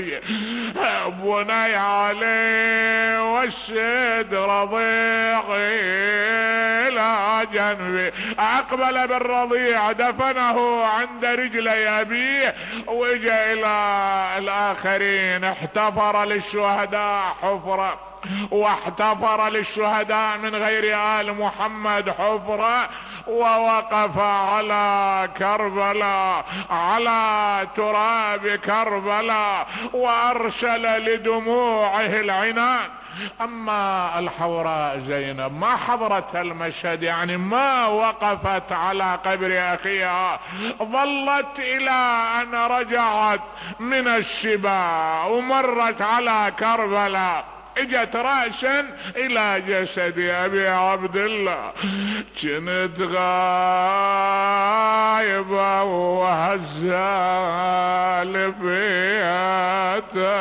جنبي بني علي والشد رضيعي الى جنبي. اقبل بالرضيع دفنه عند رجلي ابيه واجا الى الاخرين. احتفر للشهداء حفرة واحتفر للشهداء من غير آل محمد حفرة، ووقف على كربلاء على تراب كربلاء وارسل لدموعه العنان. اما الحوراء زينب ما حضرت المشهد، يعني ما وقفت على قبر اخيها، ظلت الى ان رجعت من الشباء ومرت على كربلاء، اجت رأسا الى جسد ابي عبد الله. كنت غايبة وهزال بيتك